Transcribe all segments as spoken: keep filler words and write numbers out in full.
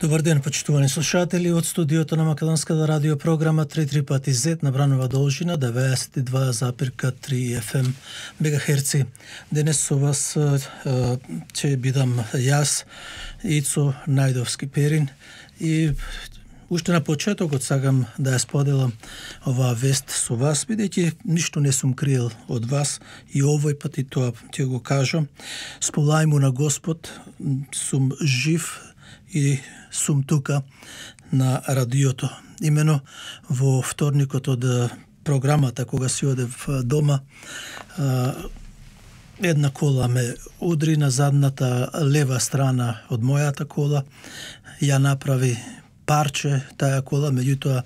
Добар ден, почитувани слушатели, од студиото на Македонската радио програма три три пати зет на бранова должина деветдесет и два запирка три еф ем мегахерци. Денес со вас ќе бидам јас, Ицо Најдовски Перин, и уште на почетокот сакам да ја споделам оваа вест со вас, бидејќи ништо не сум криел од вас и овој пат и тоа ќе го кажам. Сполај му на Господ, сум жив и сум тука на радиото. Имено во вторникот од програмата, кога си одев дома, една кола ме удри на задната лева страна од мојата кола, ја направи парче таа кола, меѓутоа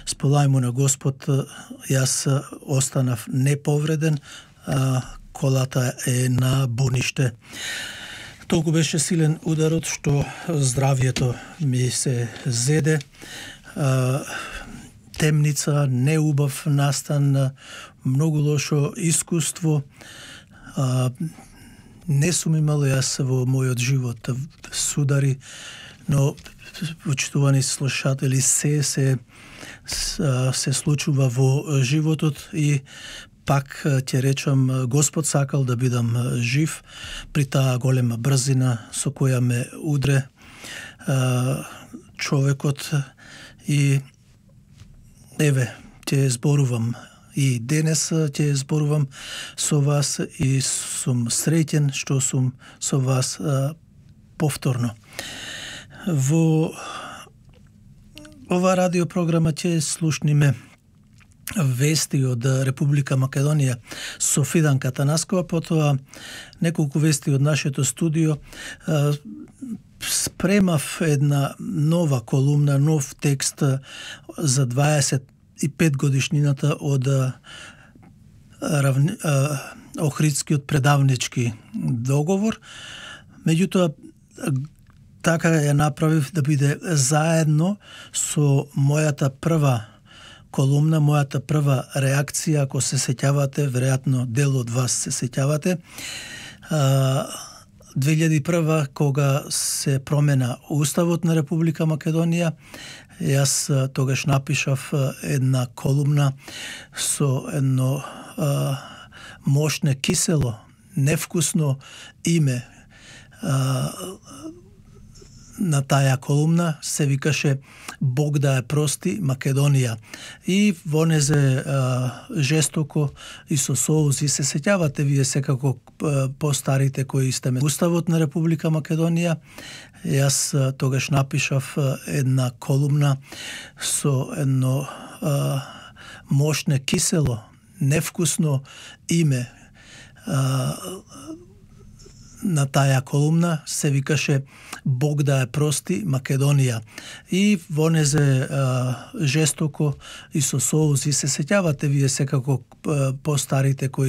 сполај му на Господ, јас останав неповреден, а колата е на буниште. Толку беше силен ударот што здравието ми се зеде. Темница, неубав настан, многу лошо искуство. Не сум имал јас во мојот живот судари, но почитувани слушатели, се се се случува во животот и пак ќе речам, Господ сакал да бидам жив при таа голема брзина со која ме удре човекот, и еве ќе зборувам и денес ќе зборувам со вас и сум среќен што сум со вас повторно. Во ова радиопрограма ќе слушниме вести од Република Македонија со Фиданка Танаскова, потоа неколку вести од нашето студио. Спремав една нова колумна, нов текст за дваесет и пет годишнината од равни, Охридскиот предавнички договор. Меѓутоа, така ја направив да биде заедно со мојата прва колумна, мојата прва реакција, ако се сеќавате, веројатно дел од вас се сеќавате. две илјади и прва, кога се промена Уставот на Република Македонија, јас тогаш напишав една колумна со едно а, мошне, кисело, невкусно име. А, на таја колумна се викаше Бог да ја прости Македонија. И во незе а, жестоко и со соузи се сеќавате вие секако постарите кои сте ме Уставот на Република Македонија. Јас а, тогаш напишав а, една колумна со едно а, мошне, кисело, невкусно име. А, на таја колумна се викаше Бог да ја прости Македонија. И во незе а, жестоко и со соузи се сеќавате вие секако постарите кои